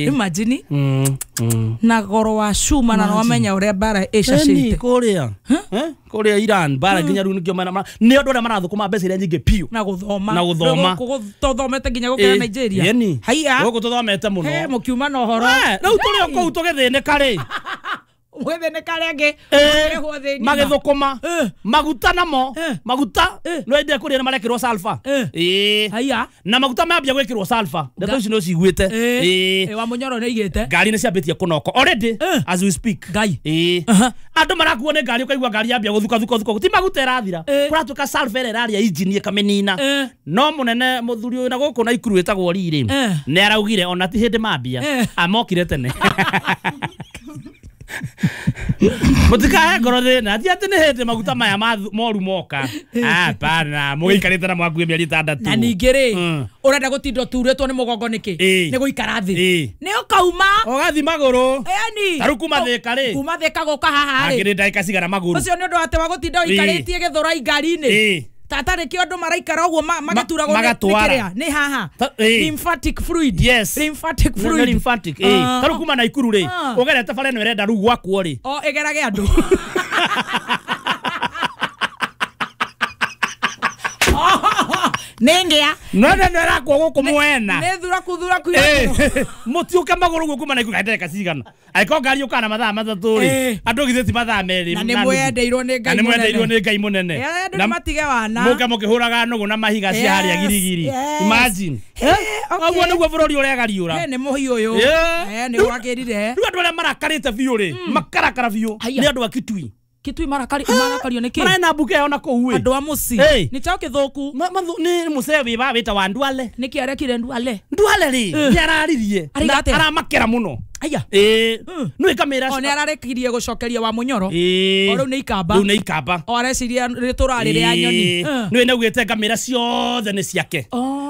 Imagine na goro wa cuma na wamenya uria bara icacite kuria kuria Iran bara nginya riu nikio mena ni andu aria marathukuma mbeca iria nyingi piu na guthoma na guthoma tuthomete nginya gukira Nigeria haiya guku tuthomete muno he mukiuma na uhoro riu turi o kuu tugithinika ri gwithinika ringi magithukuma maguta namo maguta no ende kuria marekirwo sulfur haiya na maguta mambia gwikirwo sulfur ndeto icio no ciguite wa munyoro ni igite ngari ni ciambitie kunoko already as we speak ngai andu marakuo ni ngari ukaigua ngari yambia guthuka thuka thuka ti maguta irathira kuratuka sulfur ira iraria engine ikamenina no munene muthuri uyu na guku na ikuru witagwo riri ni araugire ona ti hindi mambia amokire tene mutikahe ngoro thina ti ati ni hindi maguta maya moru moka hapana mugiikarite na mwakuĩ mĩeri ĩtandatũ na ningĩ rĩ ũrenda gũtinda ũturĩtwo nĩ mũgongo nĩkĩ nĩ gũikara thĩ nĩ ũkauma ũgathi magũrũ yani ta rĩu kuma Thĩka rĩ kuma Thĩka gũka haha rĩ angĩrĩ ndagĩka cigana magũrũ ũcio nĩ ũndũ atĩ wa gũtinda ũikarĩtie gĩthũrai ngari-inĩ tata rĩkĩo andũ maraikara ũguo magĩturagwo nĩ kĩrĩa nĩ haha lymphatic fluid yes lymphatic fluid lymphatic ta rĩu kuma Naikuru rĩ ũgerete bara ĩno ĩrenda rĩu gwakwo rĩ o ĩgerage andũ nĩ ngĩa no no no ĩrakwo gũkũ mwena nĩ thuraku thuraku mũtiũke magũrũ ũguo kuma Naikuru ndagĩka cigana angĩkorwo ngari yũkaga na mathaa matatũ rĩ andũ githĩ ti mathaa merĩ na nĩ mwendeirwo nĩ Ngai na nĩ mwendeirwo nĩ Ngai mũnene andũ nĩ matige wana mũke mũkĩhũraga nũgũ na mahiga cia harĩa girigiri imagine ũguo nĩguo bũrũri ũregariũra nĩ mũhiũ ũyũ nĩ gwakĩrire rĩu andũ arĩa marakarĩte biũ rĩ makarakara biũ nĩ andũ a Kitui Kitui marakario nĩ kĩ maraena mbuke ona kũu andũ a mũciĩ nĩ chao kĩthũku nĩ mũcee wĩ ba wĩta wa Ndwale nĩkĩ arekire Ndwale Ndwale rĩ nĩ araririe aramakera mũno aya nĩ kamera o nĩ ararekirie gũcokeria wa munyoro o rĩu nĩ ikamba rĩu nĩ ikamba o areciria rĩtũra rĩrĩa nyoni nĩ naugĩte ngamĩra ciothe nĩ ciake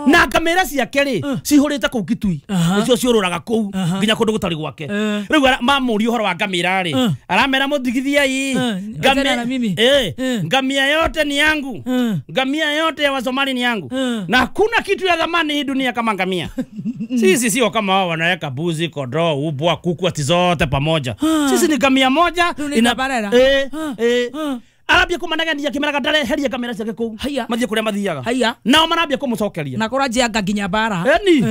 na ngamĩra ciake rĩ cihũrĩte kũu Kitui nĩcio ciũrũraga kũu nginya kũndũ gũtarĩ gwake rĩu mamũria ũhoro wa ngamĩra rĩ aramera mũthigithiai ngamia yote ni yangu ngamia yote ya Wasomali ni yangu na hakuna kitu ya dhamani hii dunia kama ngamia sisi sio kama wao wanaweka buzi kondoo ubwa kuku ati zote pamoja sisi ni ngamia moja ina arambia kumanagania kimeraga ndare heria kamera ciake kuu mathie kuria mathiaga nao marambia kumucokeria na kũranjianga nginya bara eni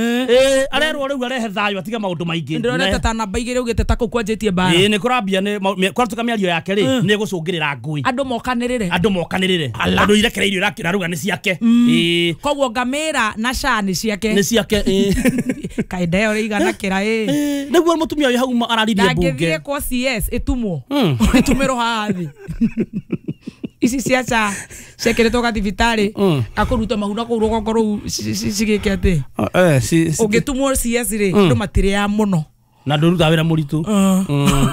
arerwo riu arehe thayo atiga maundu maingi ndĩronete ta namba igĩrĩ ugĩte ta kũu kwanjĩtie bara nĩ kũrambia nĩ kwaratuka mĩario yake rĩ nĩ gũcũngĩrĩra ngũĩ andũ mokanĩrĩre andũ irekereirio iraruga nĩ ciake koguo ngamĩra na sha nĩ ciake nĩ ciake kaĩ ndeo ĩigana kĩra nĩguo mũtumia ũyũ hau araririe mbunge ndangĩthiĩ kwa CS ĩtumwo ĩtumĩrwo haha thĩ ici cia cha ciĩkĩrĩtwo gathibitarĩ akũruta mahu na kũu rũgongo rũu cigĩke atĩ ũngĩtumwo CS rĩ andũ matirĩaga mũno na ndũrutaga wĩra mũritũ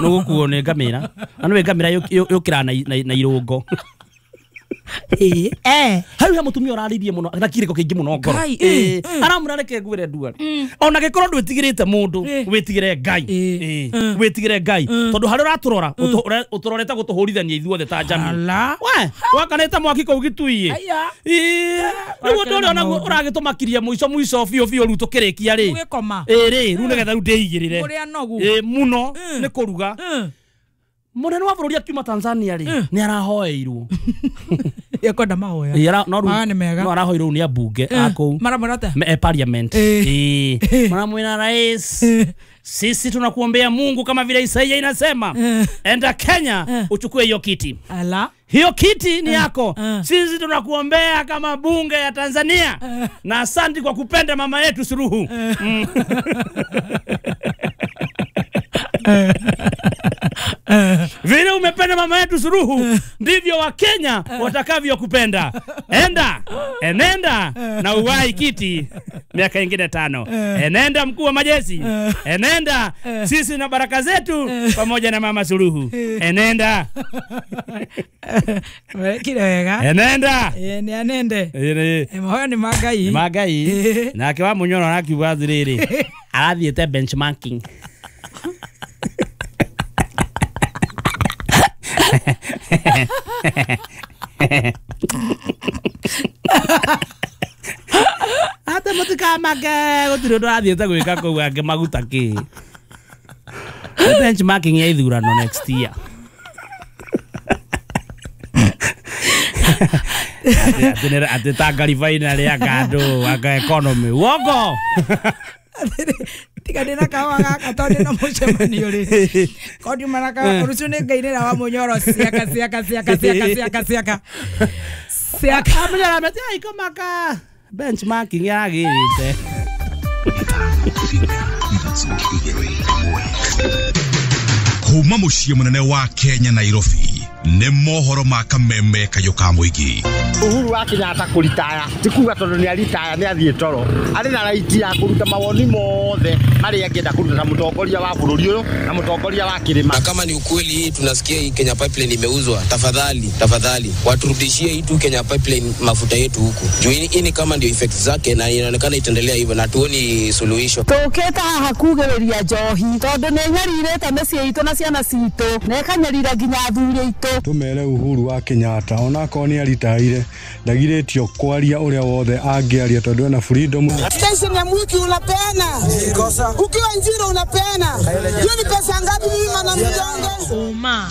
nĩgũkuo nĩ ngamĩra na nĩwe ngamĩra yũkĩraga na irũngo hau he mũtumia ũrarĩirie mũno na kĩrĩko kĩingĩ mũno ngoro aramwĩra reke ngwĩre Ndwale ona gĩkorwo ndwĩtigĩrĩte mũndũ wĩtigĩre Ngai wĩtigĩre Ngai tondũ harĩa ũratũrora ũtũrorete gũtũhũrithania ithuothe ta jamii we wakanĩte mwaki kũu Gĩtui rĩu ũndũ ũrĩa onaguo ũragĩtũmakirie mũico mũico biũ biũ rĩu tũkĩrĩkia rĩ rĩ rĩu nĩgetha rĩu ndĩigĩrĩre mũno nĩ kũruga munene wa bũrũri akiuma Tanzania rĩ nĩ arahoeirwo ekwenda mahoya no rĩu no arahoeirwo nĩ ambunge a kũu maramwĩra atĩa parliament maramwĩra rais sisi tunakuombea Mungu kama vile Isaia inasema enda Kenya uchukue hiyo kiti ala hiyo kiti ni yako sisi tunakuombea kama bunge ya Tanzania na asante kwa kupenda mama yetu Suluhu Vile umependa mama yetu Suluhu ndivyo wa Kenya watakavyokupenda. Enda, enenda na uwai kiti miaka ingine 5. Enenda mkuu wa majeshi. Enenda sisi na baraka zetu pamoja na mama Suluhu. Enenda. Kile wega. Enenda. Ni anende. Mahoya ni magai. Magai. Nake wa munyoro arakiuga atiriri. Arathiĩte benchmarking. Ata Mũtikamake gũtirĩ ũndũ athiĩte gwĩka kũu angĩ maguta kĩ. Benchmarking ya ithurano next year. Ati Tanga refinery anga anga economy. Wongo. Tiga ndina kawa gaka tondu ndina mucemanio ri. Kondi maraka rucio ni ngainira wa munyoro ciaka ciaka ciaka ciaka ciaka ciaka. Ciaka munyoro metia ikomaka. Benchmarking yagirite. Kuma muciĩ mũnene wa Kenya Nairobi nĩ mohoro ma kameme kayũ ka mũingĩ. Uhuru wa Kenyatta kũritaya ti kuga tondũ nĩ aritaya nĩ athiĩ toro, arĩ na right ya kũruta mawoni mothe marĩa angĩenda kũruta ta mũtongoria wa bũrũri ũyũ na mũtongoria wa kĩrĩma. Na kama ni ukweli hii tunasikia hii Kenya Pipeline imeuzwa, tafadhali tafadhali waturudishie hii tu Kenya Pipeline mafuta yetu huku. Juu hii ni kama ndio effect zake na inaonekana itaendelea hivyo na tuoni suluhisho. Tũkĩte haha kugĩrĩria njohi tondũ nĩ nyarirĩte mĩciĩ itũ na ciana citũ na ĩkanyarira nginya athuri aitũ. Tumere Uhuru wa Kenyatta onakorwo nĩ aritaire ndagirĩtio kwaria ũrĩa wothe angĩaria tondũ ena freedom. Station ya mwiki unapeana, ukiwa Njiro unapeana, hiyo ni pesa ngapi? Mimi mana mjonge uma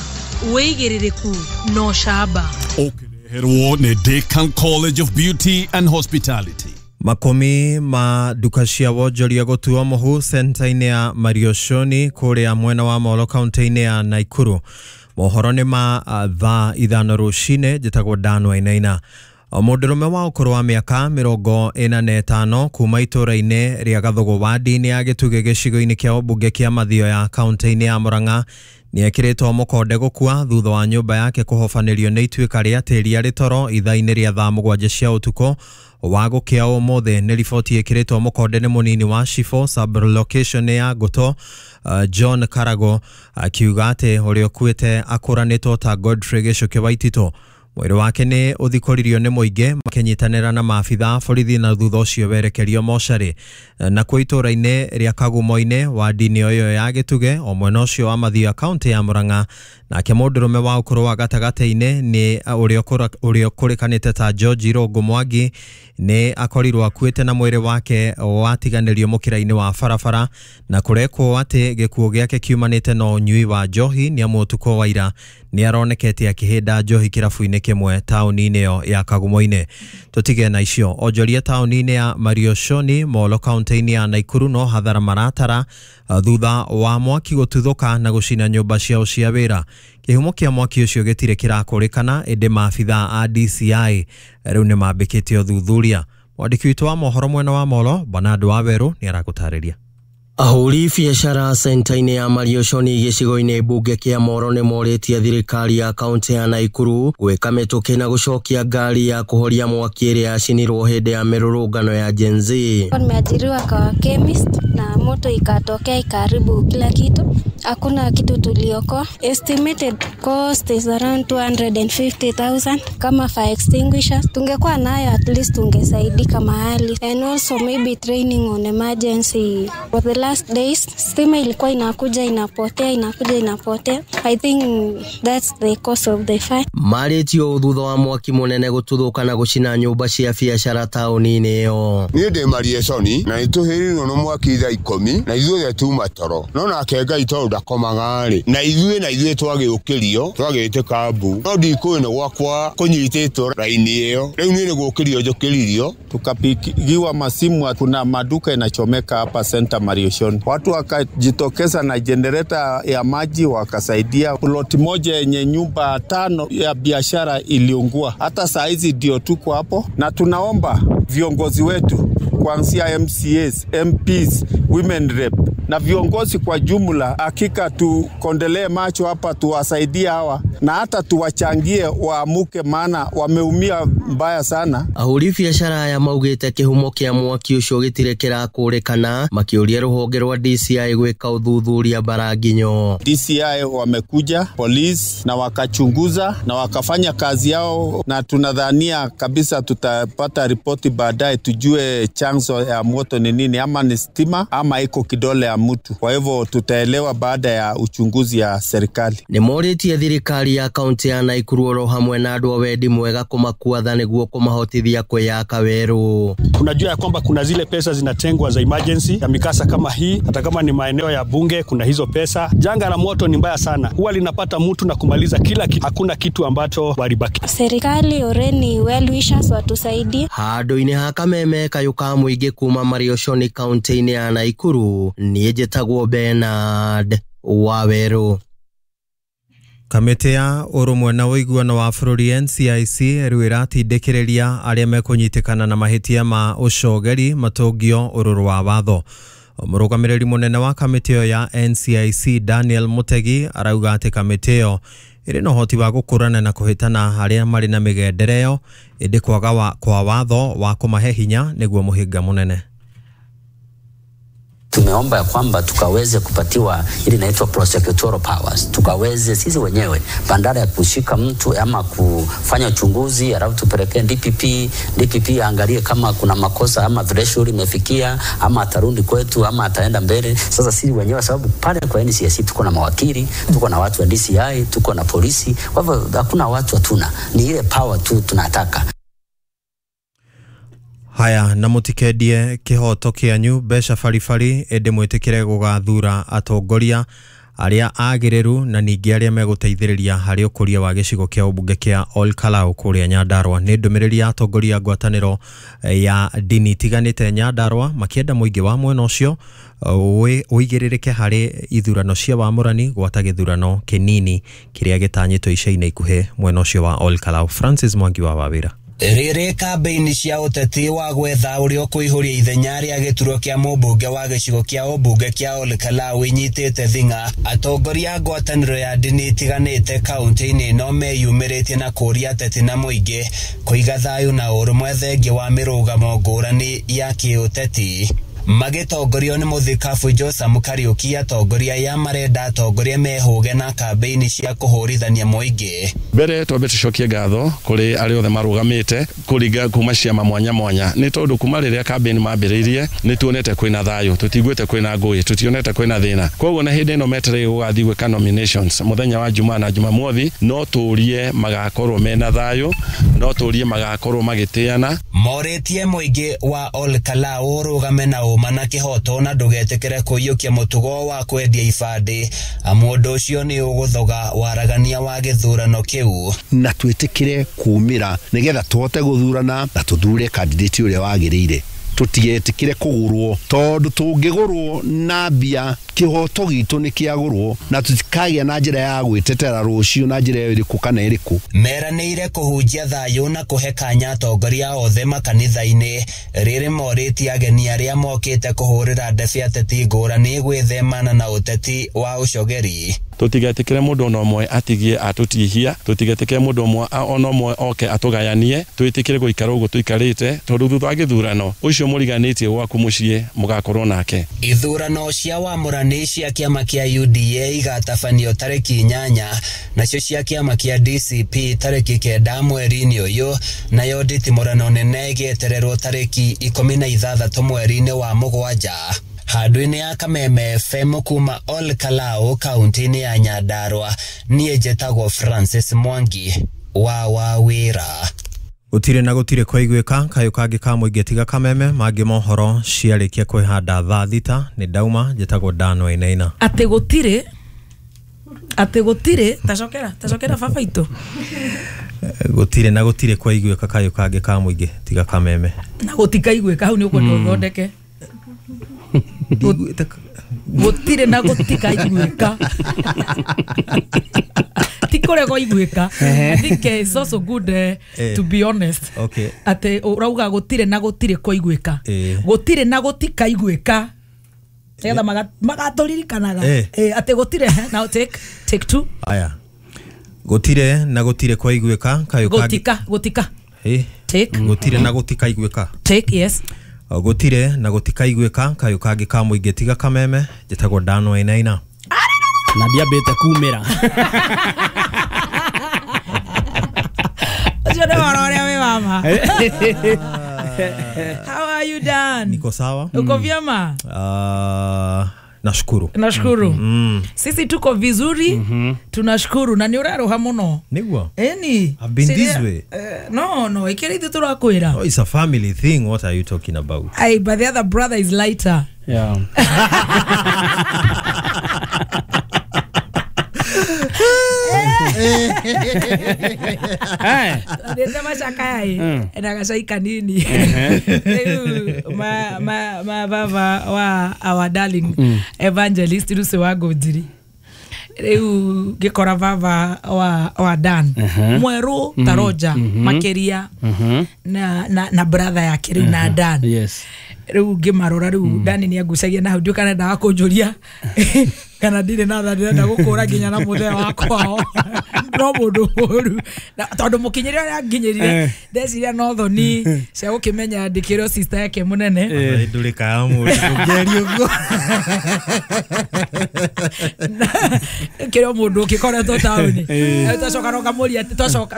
wĩigĩrĩrĩku no shaba ũkĩreherwo nĩ Decan College of Beauty and Hospitality. Makumi ma duka cia wonjoria gũtuo mũhu centa-inĩ ya Marioshoni kũrĩa mwena wa Molo kaunti-inĩ ya Nakuru. Mohoro nĩ ma thaa 5 rũcinĩ. Njĩtagwo Dan Wainaina. Mũndũrũme wa ũkũrũ wa mĩaka 45 kuma itũũra-inĩ rĩa Gathugu wadi-inĩ ya Gĩtugĩ gĩcigo-inĩ kĩa ũmbunge kĩa Mathioya kaunti-inĩ ya Murang'a nĩ ekĩrĩtwo mũkonde gũkua thutha wa nyũmba yake kũhobanĩrio nĩ ituĩka rĩa tĩri arĩ toro ithaa-inĩ rĩa thaa 7 cia ũtukũ wa gũkĩa ũmũthĩ. Nĩ riboti ĩkĩrĩtwo mũkonde nĩ mũnini wa Shifo sub-location ya Ngoto John Karago akiuga atĩ ũrĩa ũkuĩte akũranĩtwo ta Godfrey Gĩcuki Waititũ. Mwĩrĩ wake nĩ ũthikũririo nĩ mũingĩ makĩnyitanĩra na maabitha a borithi na thutha ũcio werekerio mocarĩ. Nakuo itũũra-inĩ rĩa Kagumo-inĩ wadi-inĩ ĩyo ya Gĩtugĩ o mwena ũcio wa Mathioya kaunti ya Murang'a, nake mũndũrũme wa ũkũrũ wa gatagatĩ-inĩ nĩ ũrĩa ũkũrĩkanĩte ta George Irũngũ Mwangi nĩ akorirwo akuĩte na mwĩrĩ wake watiganĩrio mũkĩra-inĩ wa barabara na kũrekwo atĩ gĩkuũ gĩake kiumanĩte na ũnyui wa njohi nĩ amu ũtukũ wa ira nĩ aronekete akĩhĩnda njohi kĩrabu-inĩ kĩmwe taũni-inĩ ĩyo ya Kagumo-inĩ. Tũtige na icio. Onjoria taũni-inĩ ya Marioshoni Molo kaunti-inĩ ya Nakuru no hathara maratara thutha wa mwaki gũtuthũka na gũcina nyũmba ciao cia wĩra. Kĩhumo kĩa mwaki ũcio gĩtirĩ kĩrakũrĩkana ĩndĩ maabitha a DCI rĩu nĩ mambĩkĩte ũthuthuria. Mwandĩki witũ wa mohoro mwena wa Molo Bernard Wawerũ nĩ aragũtarĩria. Ahũri biacara centa-inĩ ya Marioshoni gĩcigo-inĩ mbunge kĩa Moro nĩ morĩtie thirikari ya kaunti ya Nakuru gwĩka mĩtũkĩ na gũcokia ngari ya kũhoria mwaki ĩrĩa yacinirwo hĩndĩ ya mĩrũrũngano ya Gen Z. Nimeajiriwa kwa chemist na moto ikatokea ikaharibu kila kitu. Hakuna kitu tuliokoa. Estimated cost is around 250,000 kama fire extinguishers. Tungekuwa nayo at least tungesaidika mahali. And also maybe training on emergency. For the last days, stima ilikuwa inakuja inapotea, inakuja inapotea. I think that's the cause of the fire. Marĩtio thutha wa mwaki mũnene gũtuthũka na gũcina nyũmba cia biacara taũni-inĩ ĩyo. Niĩ ndĩ Marioshoni na nĩtũhĩrĩirwo nĩ mwaki thaa 10 na ithuothe tuma toro. No nake Ngai tondũ ndakomaga rĩ, na ithuĩ twagĩũkĩrio twagĩtĩka mbu, no ndikũĩ nĩ gwakwa kũnyitĩtwo raini ĩyo. Rĩu niĩ nĩ gũkĩrio njũkĩririo. Tukapigiwa masimu, kuna maduka inachomeka hapa center Marioshoni. Watu wakajitokeza na generator ya maji wakasaidia. Ploti moja yenye nyumba 5 ya biashara iliungua. Hata saa hizi ndio tuko hapo, na tunaomba viongozi wetu kuanzia MCAs, MPs, women rep na viongozi kwa jumla, hakika tukondelee macho hapa, tuwasaidie hawa na hata tuwachangie waamuke, maana wameumia mbaya sana. Ahũri biacara aya maugĩte kĩhumo kĩa mwaki ũcio gĩtirĩ kĩrakũrĩkana, makĩũria rũhonge rwa DCI gwĩka ũthuthuria Mbaranginyo. DCI wamekuja, police, na wakachunguza na wakafanya kazi yao, na tunadhania kabisa tutapata ripoti baadaye tujue Chanzo ya moto ni nini, ama ni stima ama iko kidole ya mtu. Kwa hivyo tutaelewa baada ya uchunguzi ya serikali. Nĩ morĩtie thirikari ya kaunti ya Naikuru oro hamwe na andũ a wendi mwega kũmakuatha nĩguo kũmahotithia kwĩyaka werũ. Tunajua ya kwamba kuna zile pesa zinatengwa za emergency ya mikasa kama hii, hata kama ni maeneo ya bunge kuna hizo pesa. Janga la moto ni mbaya sana, huwa linapata mtu na kumaliza kila kitu, hakuna kitu ambacho walibaki. Serikali oreni well wishers watusaidie. Handũ-inĩ ha kameme kayũ ka mũingĩ kuma Marioshoni kaunti-inĩ ya Naikuru, niĩ njĩtagwo Bernard Wawerũ. Kamĩtĩ ya ũrũmwe na ũiguano wa bũrũri NCIC rĩu ĩratindĩkĩrĩria arĩa mekũnyitĩkana na mahĩtia ma ũcogeri matũngio ũrũrũ wa watho. Mũrũgamĩrĩri mũnene wa kamĩtĩ ĩyo ya NCIC Daniel Mutegi arauga atĩ kamĩtĩ ĩyo ĩrĩ na ũhoti wa gũkũrana na kũhĩtana arĩa marĩ na mĩgendere ĩyo, ĩndĩ kwaga kwa watho wa kũmahe hinya nĩguo mũhĩnga mũnene. Tumeomba ya kwamba tukaweze kupatiwa ile inaitwa prosecutorial powers, tukaweze sisi wenyewe bandara ya kushika mtu ama kufanya uchunguzi, alafu tupeleke DPP, DPP aangalie kama kuna makosa ama threshold imefikia ama atarudi kwetu ama ataenda mbele. Sasa sisi wenyewe, sababu pale kwa NCIC tuko na mawakili, tuko na watu wa DCI, tuko na polisi, kwa hivyo hakuna watu hatuna, ni ile power tu tunataka. Haya, na mutikendie kihoto kianyu mbeca baribari ĩndĩ mwĩtĩkĩre gũgathura atongoria arĩa agĩrĩru na ningĩ arĩa megũteithĩrĩria harĩ ũkũria wa gĩcigo kĩa ũmbunge kĩa Ol Kalou kũrĩa Nyandarua. Nĩ ndũmĩrĩri ya atongoria a ngwatanĩro ya ndini itiganĩte Nyandarua makĩenda mũingĩ wa mwena ũcio ũigĩrĩrĩke harĩ ithurano cia wamũrani gwata gĩthurano kĩnini kĩrĩa gĩtanyĩtwo ica-inĩ ikuhĩ mwena ũcio wa Ol Kalou. Francis Mwangi wa Wawĩra. Rĩrĩ kambĩini cia ũteti wa gwetha ũrĩa ũkũihũria ithenya rĩa gĩturwa kĩa mũmbunge wa gĩcigo kĩa ũmbunge kĩa Ol Kalou inyitĩte thing'a, atongoria a ngwatanĩro ya ndini itiganĩte kaunti-inĩ ĩno meyumĩrĩtie na kũũria ateti na mũingĩ kũiga thayũ na ũrũmwe thengia wa mĩrũgamo ngũrani ya kĩũteti. Magĩtongorio nĩ mũthikabu Joseph Kariuki, atongoria ya marenda atongoria mehũge na kambĩini cia kũhũrithania mũingĩ. Mbere twambe tucokie ngatho kũrĩ arĩa othe marũgamĩte kũringa kuma ciama mwanya mwanya, nĩ tondũ kuma rĩrĩa kambĩini mambĩrĩirie nĩ tuonete kwĩna thayũ, tũtiguĩte kwĩna ngũĩ, tũtionete kwĩna thĩna. Koguo na hĩndĩ ĩno metereire gũgathiĩ gwĩka nominations mũthenya wa Jumaa na Jumamothi, no tũrie magakorwo mena thayũ, no tũrie magakorwo magĩtĩana. Morĩtie mũingĩ wa Ol Kalou ũrũgame na ũma na kĩhoto na ndũgetĩkĩre kũiyũkia mũtugo wa kwendia ibandĩ, amu ũndũ ũcio nĩ ũgũthoga waragania wa gĩthurano kĩu. Na twĩtĩkĩre kumĩra nĩgetha tũhote gũthurana na tũthure candidate ũrĩa wagĩrĩire. Tũtigetĩkĩre kũgũrwo, tondũ tũngĩgũrwo na mbia kĩhoto gitũ nĩ kĩagũrwo na tũtikagĩa na njĩra ya gwĩtetera rũciũ na njĩra ĩrĩkũ kana ĩrĩkũ. Meranĩire kũhunjia thayũ na kũhe kanya atongoria othe makanitha-inĩ. Rĩrĩ morĩtie ageni arĩa mokĩte kũhũrĩra ndebe ateti ngũrani gwĩthemana na ũteti wa ũcogeri. Tũtigetĩkĩre mũndũ ona ũmwe atigie atũtihia, tũtigetĩkĩre mũndũ ũmwe ona ũmwe oke atũgayanie, twĩtĩkĩre gũikara ũguo tũikarĩte, tondũ thutha wa gĩthurano ũcio mũriganĩtie gwaku mũciĩ mũgakorwo nake. Ithurano cia wamũrani cia kĩama kĩa UDA igatabanio tarĩki 8, nacio cia kĩama kĩa DCP tarĩki 9 mweri-inĩ ũyũ, nayo nditimũrano nene ĩgĩetererwo tarĩki 16 mweri-inĩ wa 7. Handũ-inĩ ya Kameme FM kuma Ol Kalou kaunti-inĩ ya Nyandarua, niĩ njĩtagwo Francis Mwangi wa Wawĩra. Gũtirĩ na gũtirĩ kwaiguĩka kayũ kangĩ ka mũingĩ tiga Kameme mangĩ mohoro ciarĩkia kwĩhanda thaa 6. Nĩ ndauma, njĩtagwo Dan Wainaina. Atĩ gũtirĩ tacokera baba itũ. Gũtirĩ na gũtirĩ kwaiguĩka kayũ kangĩ ka mũingĩ tiga Kameme. Na gũtikaiguĩka hau nĩ ũkwenda ũthondeke. Gũtirĩ na gũtikaiguĩka. Ti kũrega iguĩka. I think it's also good to be honest. Okay. Atĩ ũrauga gũtirĩ na gũtirĩ kwaiguĩka. Gũtirĩ na gũtikaiguĩka. Nĩgetha magatũririkanaga. Atĩ gũtirĩ. Now take two. Aya. Gũtirĩ na gũtirĩ kwaiguĩka kayũ kangĩ. Gũtika. Take. Gũtirĩ na gũtikaiguĩka. Take, yes. Gũtirĩ na gũtikaiguĩka kayũ kangĩ ka mũingĩ tiga Kameme. Njĩtagwo Dan Wainaina. Na ndiambĩte kumĩra. Ũcio nĩ ũhoro ũrĩa wĩ wama. How are are you Dan? Niko sawa. Uko vyema? Nashukuru. Nashukuru. Sisi tuko vizuri. Tunashukuru na ni uraroha muno. Niguo. Eni. I've been this way. No, ikiri ithu turakwira. Oh, it's a family thing. What are you talking about? Ay, but the other brother is lighter. Yeah. Ndete macakai na gacai kanini. Ma baba wa our darling evangelist Lucy wa Ngũnjiri. Riu ngikora baba wa Dan mweru ta Roger makiria na brother yake riu na Dan. Yes. Riu ngimarora riu Dan ni angucagia na hau ndiũ kana endaga kũnjũria kana ndirĩ na tha ndĩrenda gũkũra nginya na mũthee wakwao. No mũndũ mũru tondũ mũkinyĩre ũrĩa nginyĩrire ndeciria no thoni cia gũkĩmenya ndĩkĩrwo sister yake mũnene. Ndũrĩkaga mũndũ ndũngĩaria ũguo. Kĩrĩa mũndũ ũkĩkoretwo taũni twacoka no ngamũria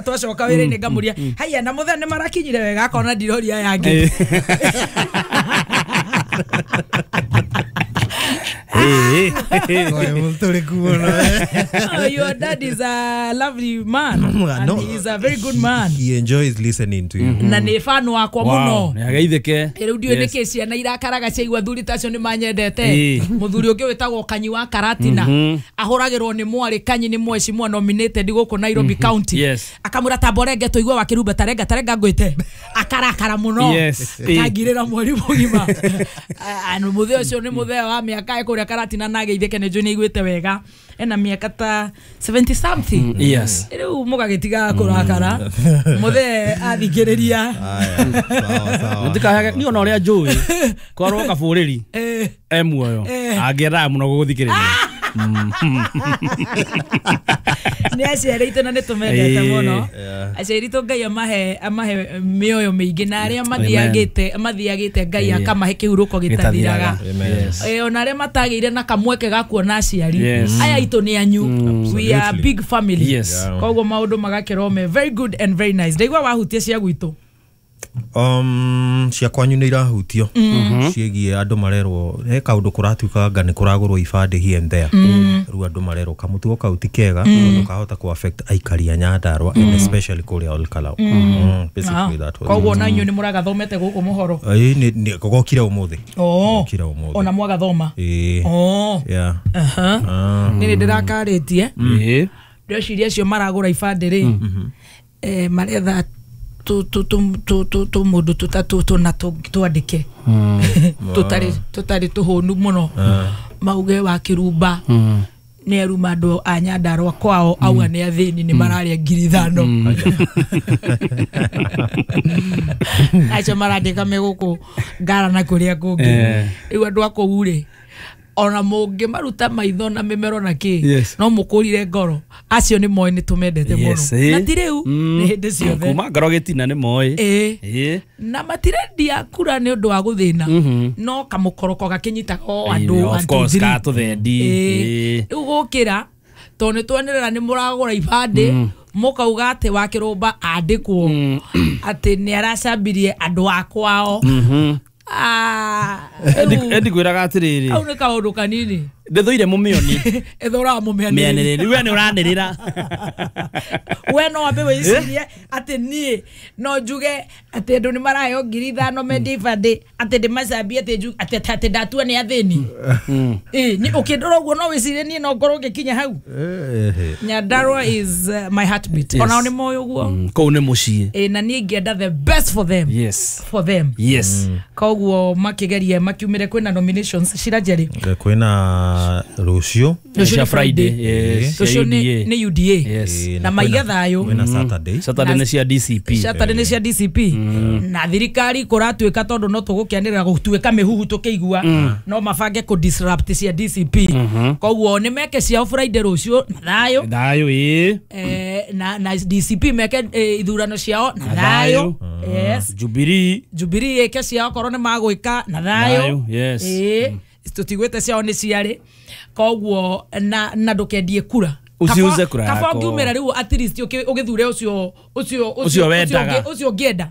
twacoka wĩra-inĩ ngamũria haiya na mũthee nĩ marakinyire wega akona ndiroria yangĩ. Your dad is a lovely man. And no, he is a very good man. He enjoys listening to you. Na nĩ fan wakwa mũno. Nĩageithĩke. Rĩu ndiũĩ nĩkĩ ciana irakaraga ciaigua athuri ta acio nĩ manyendete. Mũthuri ũngĩ wĩtagwo Kanyi wa Karatina ahũragĩrwo nĩ mwarĩ Kanyi nĩ mheshimiwa nominated gũkũ Nairobi County. Akamwĩra tamborenge tũigue wa kĩrumba tarenga tarenga ngwĩte. Akarakara mũno. Akangirĩra mweri mũgima. Mũthee ũcio nĩ mũthee wa mĩaka ĩkũrĩa Karatina na ageithĩke nĩ njũĩ nĩ aiguĩte wega. Ena miaka ta 70 something. Yes. Rĩu mũgagĩtiga kũrakara. Mũthee athikĩrĩria. Sawa. Niĩ ona ũrĩa njũĩ korwo Kabũrĩri e muoyo angĩendaga mũno gũgũthikĩrĩria. Nĩ aciari aitũ na nĩ tũmendete mũno. Aciari aitũ Ngai amahe mĩoyo mĩingĩ na arĩa mathiagĩte Ngai akamahe kĩhurũko gĩtathiraga. Ona arĩa matagĩire na kamweke ga kuona aciari aya aitũ nĩ anyu. We are big family. Koguo maũndũ magakĩrwo me very good and very nice. Ndaigua wahutia cia gwitũ. Cia kwanyu nĩ irahutio ciĩgiĩ andũ marerwo he kaũndũ kũratuĩka anga nĩ kũragũrwo ibandĩ here and there. Rĩu andũ marerwo kamũtugo kau ti kega tondũ kahota kũ affect aikari a Nyandarua and especially kũrĩa Olkalau. Basically that was. Koguo na inyuĩ nĩ mũragathomete gũkũ mũhoro? Ĩĩ, gokire ũmũthĩ. Gokire ũmũthĩ. Ona mwagathoma? Ĩĩ. Yeah. Nĩ ndĩrakarĩtie. Ndĩreciria acio maragũra ibandĩ rĩ maretha tu mũndũ tũtatũ tũna twandĩke tũtarĩ tũhũnu mũno mauge wa kĩrumba nĩ aruma andũ a Nyandarua kwao auga nĩ athĩni nĩ mararĩa 5,000. Acio marandĩka me gũkũ Ngara na kũrĩa kũngĩ. Rĩu andũ a kũu rĩ ona mũngĩmaruta maitho na mĩmero na kĩ no mũkũrire ngoro acio nĩ moĩ nĩ tũmendete mũno na ti rĩu nĩ hĩndĩ ciothe kuma ngoro gĩtina nĩ moĩ na matirendia kura nĩ ũndũ wa gũthĩna no kamũkoroko gakĩnyitaga o andũ tũthendi. Rĩu gũkĩra tondũ nĩ twanĩrĩra nĩ mũragũra ibandĩ mũkauga atĩ wa kĩrũmba andĩkwo atĩ nĩ aracambirie andũ a kwao. Endi kwĩraga atĩrĩrĩ kau nĩ kaũndũ kanini ndĩthũire mũmĩoni ĩthũraga mũmĩanĩrĩri we nĩ ũranĩrĩra we no wambe wĩcirie atĩ niĩ no njuge atĩ andũ nĩ maraheo 5,000 mendie ibandĩ atĩ ndĩmacambie atĩ ndatua nĩ athĩni. Ũkĩndora ũguo no wĩcirie niĩ no ngorwo ngĩkinya hau. Nyandarua is my heartbeat. Onao nĩ moĩ ũguo kũu nĩ mũciĩ na niĩ ingĩenda the best for them. Yes. For them. Yes. Koguo makĩgeria makiumĩre kwĩna nominations cira Jerry kwĩna rũciũ cia Friday. Yes. Rũciũ nĩ UDA. Yes. Na maiga thayũ kwĩna Saturday. Saturday nĩ cia DCP. Saturday nĩ cia DCP. Na thirikari kũratuĩka tondũ no tũgũkĩanĩrĩra gũtuĩka mĩhuhu tũkĩigua no mabange kũ disrupt cia DCP. Koguo nĩ meke ciao Friday rũciũ na thayũ. Thayũ ĩĩ. Na DCP meke ithurano ciao na thayũ. Yes. Jubilee ĩke ciao korwo nĩ magwĩka na thayũ. Yes. Tũtigwĩte ciao nĩ ciarĩ koguo na ndũkendie kura Usiuze kura Kaba yako. ũngiumĩra rĩu at least ũgĩthure ũcio ũcio Ũcio wendaga. Ũcio ũngĩenda.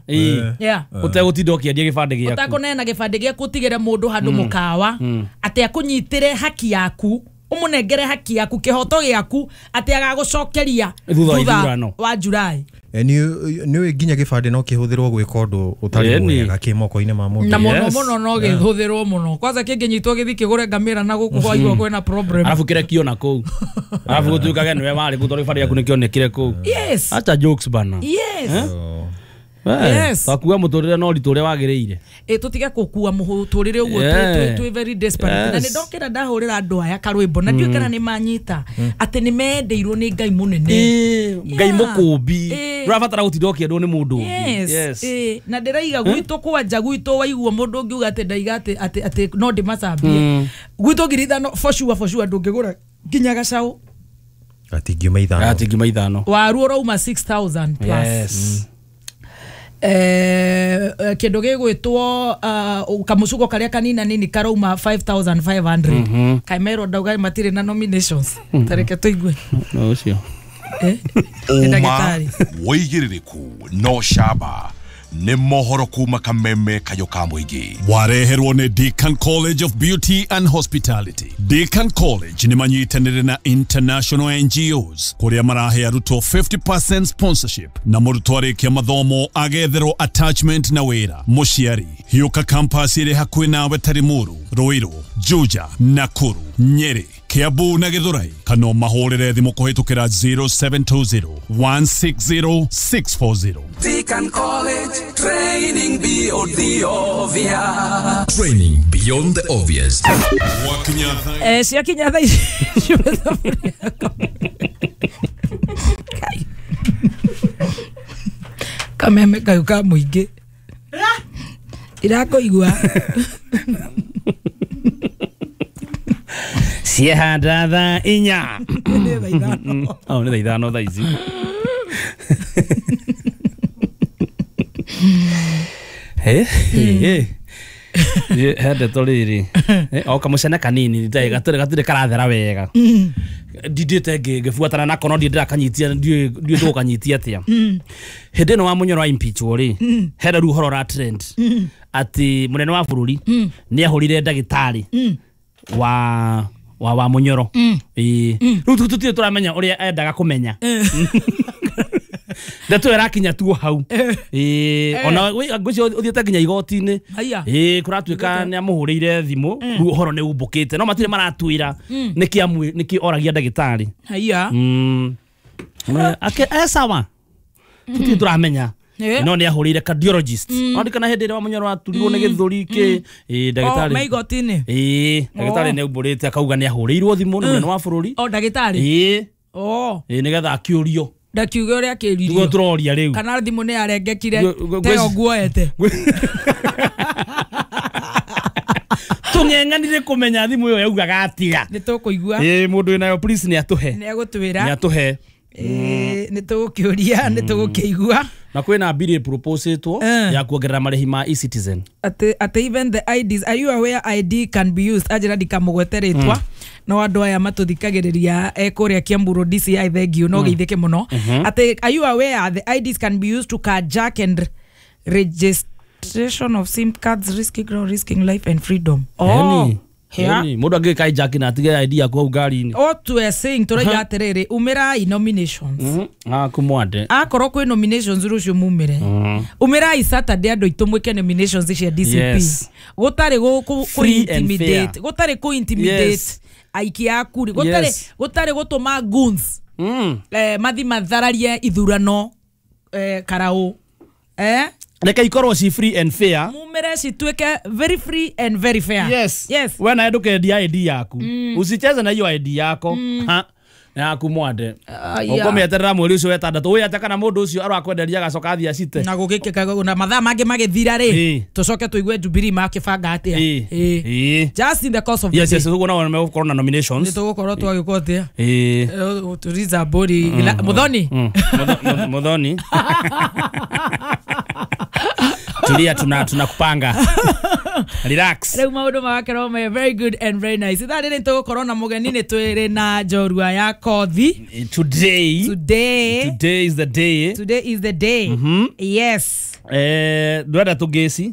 Yeah. Ũtegũtinda ũkĩendia gĩbandĩ gĩaku. Ũtakũneana gĩbandĩ gĩaku ũtigĩre mũndũ handũ mũkawa atĩ akũnyitĩre haki yaku, ũmũnengere haki yaku, kĩhoto gĩaku, atĩ agagũcokeria Thutha wa ithurano. wa July. Nĩ nginya gĩbandĩ no kĩhũthĩrwo gwĩka ũndũ ũtarĩ mwega kĩ moko-inĩ ma mũndũ. Na mũno mũno no gĩhũthĩrwo mũno. Kwanza kĩngĩnyitwo gĩthiĩ kĩgũre ngamĩra na gũkũ kwaigua kwĩna problem. Arabu kĩrekio na kũu. Arabu gũtuĩkage nĩwe warĩ kũu tondũ gĩbandĩ gĩaku nĩkĩonekire kũu. Yes. Acha jokes bana. Yes. Yes. Takua mũtũrĩre no ritũ ũrĩa wagĩrĩire. Tũtige gũkua mũtũrĩre ũguo twĩ very desperate. Na nĩ ndokĩra ndahũrĩra andũ aya karwĩmbo na ndiũĩ kana nĩ manyita atĩ nĩ mendeirwo nĩ Ngai mũnene. Ngai mũkũmbi. Ndũrabatara gũtinda ũkĩendwo nĩ mũndũ ũngĩ. Yes. Na ndĩraiga gwitũ kwanja gwitũ waigua mũndũ ũngiuga atĩ ndaiga atĩ no ndĩmacambie. Gwitũ 5,000 for sure ndũngĩgũra nginya gacaũ. Atingiuma ithano. Atingiuma ithano. Waru ũrauma 6,000 plus. Yes. Kĩndũ gĩgwĩtwo kamũcuko karĩa kanina nini karauma 5,500. Kaimero ndauga matirĩ na nominations. Tareke tũigue. No ũcio. Ũma wĩigĩrĩrĩku no camba nĩ mohoro kuma Kameme Kayo ka mũingĩ. Wareherwo nĩ Deacon College of Beauty and Hospitality. Deacon College nĩ manyitanĩire na international NGOs kũrĩa marahe arutwo 50% sponsorship na mũrutwo arĩkia mathomo agetherwo attachment na wĩra. Mũciari hiũka campus ĩrĩ hakuhĩ nawe ta Limuru, Ruiru, Juja, Nakuru, Nyeri, Kiambu na Githurai, kana mahũrĩre thimũ kũhĩtũkĩra 0720 160 640. Deacon College, training beyond the obvious. Training beyond the obvious. Ciakinya thaa ici. Kameme kayo ka mũingĩ. Irakũigua. Ciehanda thaa inya. Nĩ thaa ithano. Nĩ thaa ithano thaa ici. He ndeto rĩrĩ o kamũcene kanini gatirĩ karathera wega. Ndindĩte ngĩbuatana nako no ndiĩ ndĩrakanyitia ndiũĩ tũgũkanyitia atĩa. Hĩndĩ ĩno wa Mũnyoro wa impeachwo rĩ, hena rĩu ũhoro ũra trend atĩ mũnene wa bũrũri nĩ ahũrire ndagĩtarĩ wa Mũnyoro. Rĩu tũtirĩ tũramenya ũrĩa endaga kũmenya. Ndeto ĩrakinya tu hau. Ona ngwĩciria ũthiĩte nginya igoti-inĩ. Kũratuĩka nĩ amũhũrĩire thimũ, rĩu ũhoro nĩ umbũkĩte no matirĩ maratwĩra nĩkĩ oragia ndagĩtarĩ. Sawa. Tũtirĩ tũramenya. No nĩ ahũrĩire cardiologist. Andikana hĩndĩ ĩrĩa wa Mũnyoro aturirwo nĩ gĩthũri kĩ ndagĩtarĩ. Me igoti-inĩ. Ndagĩtarĩ nĩ aumbũrĩte akauga nĩ ahũrĩirwo thimũ nĩ mũnene wa bũrũri. O ndagĩtarĩ. Nĩgetha akĩũrio. Ndakiuga ũrĩa akĩririo. Nĩguo tũroria rĩu. Kana thimũ nĩ yarengekire teyo nguoete. Tũng'eng'anire kũmenya thimũ ĩyo yaugaga atĩa. Nĩ tũkũigua. Mũndũ wĩnayo please nĩ atũhe. Nĩ egũtwĩra. Nĩ atũhe. Nĩ tũgũkĩũria, nĩ tũgũkĩigua. Na kwĩna bill ĩproposĩtwo ya kuongerera marĩhi ma e-citizen. Atĩ even the IDs, are you aware ID can be used? Anjĩra ndikamũgwete rĩtwa. No andũ aya matũthikagĩrĩria kũrĩa Kiambu Road DCI thengiũ no geithĩke mũno. Atĩ are you aware the IDs can be used to carjack and registration of SIM cards, risking ground, risking life and freedom. Mũndũ angĩka hijack na atige ID yaku hau ngari-inĩ. O we are saying tũraiga atĩrĩrĩ, umĩrai nominations. Kumwande. Akorwo kwĩ nominations rũciũ mumĩre. Umĩrai Saturday andũ aitũ mwĩke nominations cia DCP. Gũtarĩ kũ intimidate, gũtarĩ kũ intimidate aikia a kura, gũtarĩ gũtũma goons mathi mathararie ithurano karau. Reke ikorwo ci free and fair. Mumĩre cituĩke very free and very fair. Yes. Yes. We nawe ndũkendia ID yaku. Usicheze na hiyo ID yako. Na yaku mwande. Ũkũmĩeterera mweri ũcio wetandatũ. Ũyũ ate kana mũndũ ũcio arakwenderia agacoka athiĩ acite. Na gũgĩkĩka na mathaa mangĩ magĩthira rĩ, tũcoke tũigue Jubilee makĩbanga atĩa. Just in the course of the Yes, day. yes, ũguo nao megũkorwo na nominations. Nĩ tũgũkorwo twagĩkwo atĩa. Turiza Mbũri. Muthoni. Muthoni. Tulia tunakupanga. Relax. Rĩu maũndũ magakorwo me very good and very nice. Ithaa rĩrĩ tũgũkorwo na mũgeni, nĩ twĩrĩ na njorua ya kothi. Today. Today. Today is the day. Today is the day. Yes. Ndwenda tũngĩci.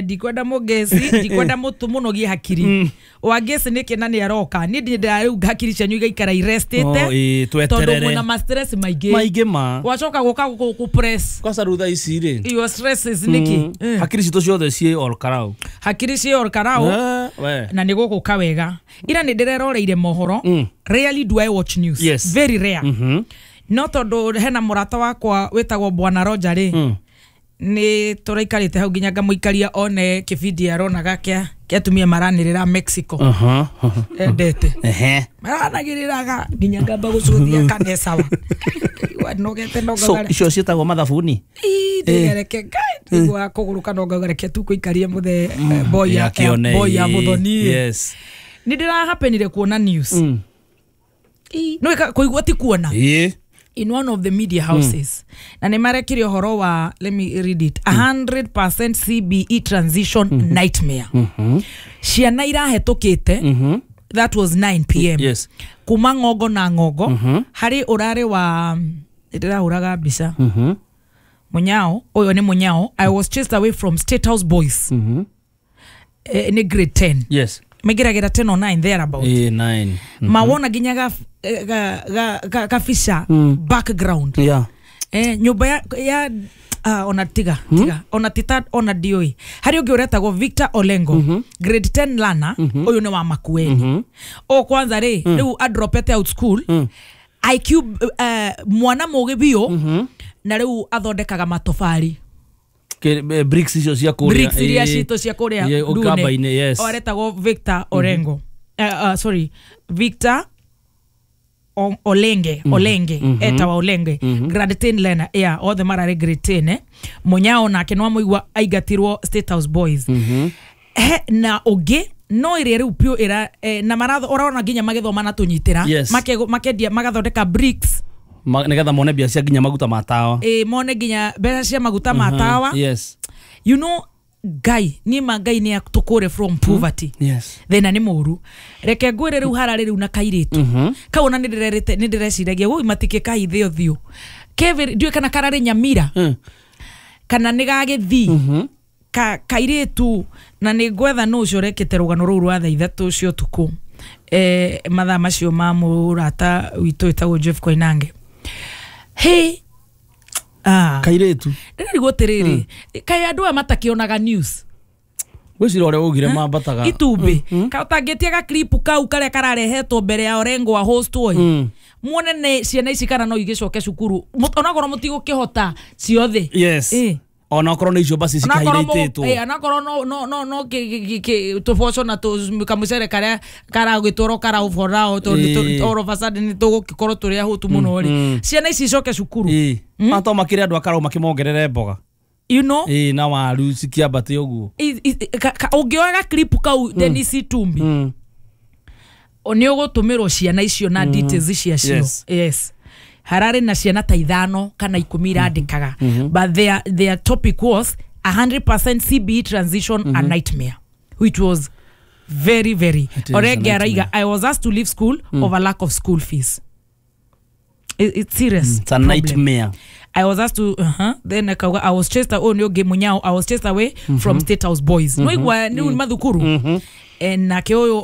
Ndikwenda mũngĩci, ndikwenda mũtũ mũnogie hakiri. Wangĩci nĩkĩ na nĩ aroka. Niĩ ndĩnda rĩu hakiri cianyu igaikara irestĩte. Oh, ĩĩ, tweterere. Tondũ mwĩna ma stress maingĩ. Maingĩ ma. Wacoka gũka gũkũ press. Kwanza rĩu thaa ici rĩ. Your stresses nĩkĩ? Hakiri citũ ciothe ciĩ Ol Kalou. Hakiri ciĩ Ol Kalou. We. Na nĩ gũgũka wega. Ira nĩ ndĩreroreire mohoro. Rarely do I watch news. Yes. Very rare. No tondũ hena mũrata wakwa wĩtagwo Bwana Roger rĩ. Nĩ tũraikarĩte hau nginya ngamũikaria one kĩbindi aronaga kĩa atumia maranĩrĩra Mexico. Endete. Maranagĩrĩraga nginya ngamba gũcũthia kana sawa. Nogete no So icio ciĩtagwo mathabuni. Ndĩgereke ngai ndigua kũgũrũka no ngagereke tu kũikaria mũthe boy ya boy ya mũthoni. Yes. Nĩ ndĩrahapenire kuona news. No kũigua ti kuona. In one of the media houses. Na nĩ marekire ũhoro wa, let me read it, 100% CBE transition nightmare. Ciana irahetũkĩte, that was 9 p.m. Yes. Kuma ng'ongo na ng'ongo, harĩ ũrarĩ wa, ndĩrahũraga mbica. Munyao, ũyũ nĩ Munyao, I was chased away from State House Boys. Nĩ grade 10. Yes. Maingĩragĩra 10 or 9 thereabout. 9. Mawona nginya ga fisha background. Yeah. Nyũmba ya ona tiga tiga ona tita ona dioi. Harĩ ũngĩ ũretagwo Victor Olengo, grade 10 learner, ũyũ nĩ wa Makueni. O kwanza rĩ, rĩu adropete out school. IQ mwana mũgĩ biũ, na rĩu athondekaga matofari. Bricks icio cia kũrĩa. Bricks iria citũ cia kũrĩa Ndune. Yes. Aretagwo Victor Orengo. Sorry, Victor Olenge, Olenge, etawa Olenge, grade 10 learner, yeah, othe mararĩ grade 10, Munyao nake no amũigua aingatirwo State House Boys. Na ũngĩ no ĩrĩa rĩu piũ ĩra na maratho ũrona nginya magĩthoma na tũnyitĩra. Yes. Makendia magathondeka bricks. Nĩgetha mone mbia cia nginya maguta ma tawa. Mone nginya mbeca cia maguta ma tawa. Yes. You know, Ngai ni ma Ngai ni atũkũre from poverty. Yes. Thĩna nĩ mũru. Reke ngwĩre rĩu hararĩ rĩu na kairĩtu. Kau ona nĩ ndĩrerĩte nĩ ndĩreciragia woi matikĩ kahithe ũthiũ. Kevin ndiũĩ kana kararĩ Nyamira. Kana nĩ gagĩthii. Kairĩtu na nĩ ngwetha nũ ũcio ũrekĩte rũgano rũu rwa thaa ithatũ cia ũtukũ. Mathaa macio ma mũrata witũ wĩtagwo Jeff Koinange. Hey. Kairĩtu. Ndĩrarigwo atĩrĩrĩ, kaĩ andũ aya matakĩonaga news. Gwĩciria ũrĩa ũgire mambataga. Itumbĩ. Ka ũtangĩtia ga clip kau karĩa kararehetwo mbere ya Orengo a host oi. Muone nĩ ciana ici kana no igĩcoke cukuru. Onakorwo mũtigũkĩhota ciothe. Yes. Onakorwo nĩ icio basi cikahiraitĩtwo. Onakorwo no tũboco na kamũcere karĩa karagĩtwarwo karaũborao tondũ all of a sudden nĩ tũgũgĩkorwo tũrĩ ahũtu mũno rĩ. Ciana ici icoke cukuru. To makĩrĩ andũ akarau makĩmongerere mboga. You know? Na waru cikĩambate ũguo. Ũngĩoya ga clip kau Dennis Itumbi. Nĩ ũgũtũmĩrwo ciana icio na details ciacio. Yes. Hararĩ na ciana ta 5 kana 10 irandĩkaga. But their topic was 100% CBE transition a nightmare, which was very very. Orege araiga, I was asked to leave school over lack of school fees. It's serious. It's a nightmare. I was asked to then akauga I was chased away nĩ Munyao, I was chased away from State House Boys. No igwa nĩ mathukuru. And nake ũyũ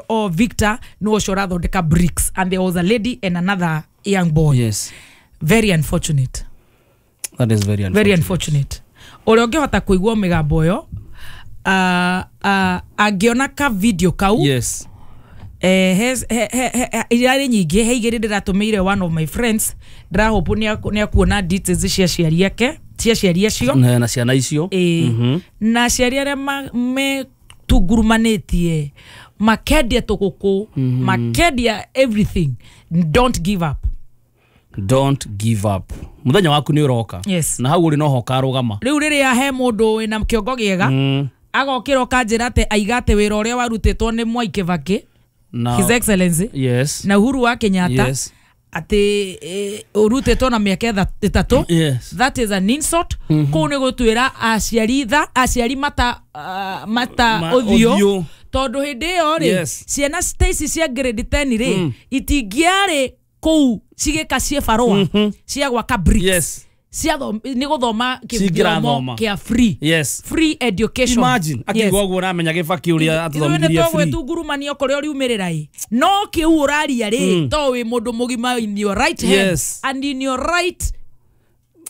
o Victor no ũcio ũrathondeka bricks, and there was a lady and another young boy. Yes. Very unfortunate. That is very unfortunate. Very unfortunate. Ũrĩa ũngĩhota kũigua mĩgambo ĩyo, angĩona ka video kau. Yes. Irarĩ nyingĩ, he igĩrĩ ndĩratũmĩire one of my friends, ndĩrahope nĩ akuona details cia aciari ake, cia aciari acio na ciana icio. Na aciari arĩa metungurumanĩtie makendia tũgũkũ, makendia everything. Don't give up. Don't give up. Mũthenya waku nĩ ũroka. Yes. Na hau ũrĩ no ho ũkarũgama. Rĩu rĩrĩa he mũndũ wĩna kĩongo gĩega, agokĩra ũkanjĩra atĩ aigate wĩra ũrĩa warutĩtwo nĩ Mwai Kibaki, His Excellency, yes, na Uhuru wa Kenyatta, yes, Atĩ ũrutĩtwo na mĩaka 3. Yes. That is an insult. Kũu nĩ gũtuĩra aciari tha, aciari mata mata ũthiũ, tondũ hĩndĩ ĩyo rĩ, Yes. ciana ta ici cia grade 10 rĩ, itingĩarĩ kũu cigĩka ciĩbarũa cia gwaka bricks. Yes. Cia nĩ gũthoma kĩthomo Cingĩrathoma. kĩa free. Yes. Free education. Imagine akiuga ũguo ũramenya Gĩbaki ũrĩa atũthomithirie free. Tũgwĩtungurumania kũrĩa ũriumĩrĩra ĩ, no kĩu ũraria rĩ, to wĩ mũndũ mũgima in your right hand Yes. and in your right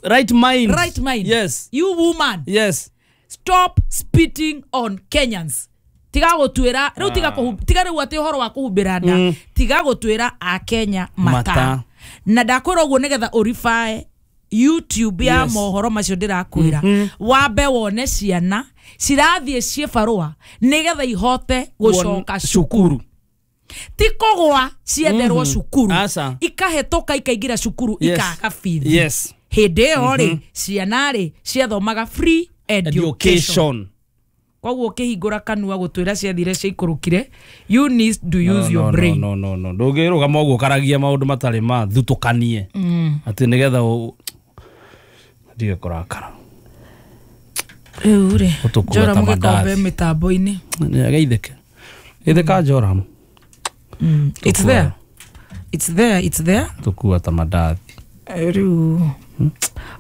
Right mind. Right mind. Yes. You woman. Yes. Stop spitting on Kenyans. Tiga gũtuĩra rĩu, tiga tiga rĩu atĩ ũhoro wa kũhumbĩra nda, tiga gũtuĩra akenya mata. Mata. Na ndakwĩra ũguo nĩgetha ũribae YouTube ya Yes. mohoro macio ndĩrakwĩra, wambe wone ciana cirathiĩ ciĩbarũa nĩgetha ihote gũcoka cukuru, ti kũgwa cienderwo cukuru, Aca. ikahetũka ikaingĩra cukuru, Yes. ikaga bithi. Yes. Hĩndĩ ĩyo rĩ, ciana rĩ ciathomaga free education. Education. Koguo ũkĩhingũra kanua gũtwĩra ciathire ciaikũrũkire, you need to use your No, brain. no, no, no. Ndũngĩrũgama ũguo ũkaragia maũndũ matarĩ ma thutũkanie atĩ nĩgetha ndige kũrakara. Rĩu rĩ, Ũtũkua Joram ta gĩkombe mandathi. mĩtambo-inĩ. Geithĩke geithĩka Joram. It's there. It's there, it's there. Tũkua ta mandathi. Rĩu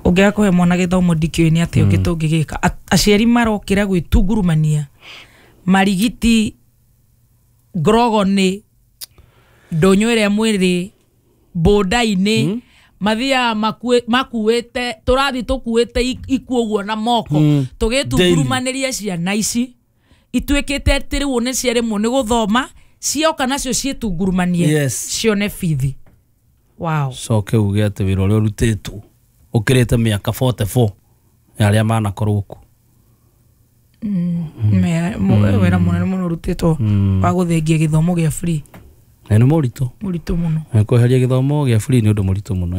ũngĩaga kũhe mwana gĩthomo ndikĩũĩ nĩ atĩa ũngĩ tũngĩgĩka. Aciari marokĩra gwĩtungurumania marigiti ngrogonĩ ndũnyũ ĩrĩa mwĩrĩ bũnda-inĩ, mathiaga makuĩte tũrathiĩ tũkuĩte ikuũ ũguo na moko, tũgĩtungurumanĩria ciana ici ituĩkĩte atĩ rĩu nĩ ciaremwo nĩ gũthoma, cioka nacio ciĩtungurumanie Yes. cione bithi. Wow. Coke uge atĩ wĩra ũrĩa ũrutĩtwo ũkĩrĩte mĩaka 44 ya arĩa manakorwo kuo. Wĩra mũnene mũno ũrutĩtwo wa gũthengia gĩthomo gĩa free. Na nĩ mũritũ. Mũritũ mũno. Kweheria gĩthomo gĩa free nĩ ũndũ mũritũ mũno.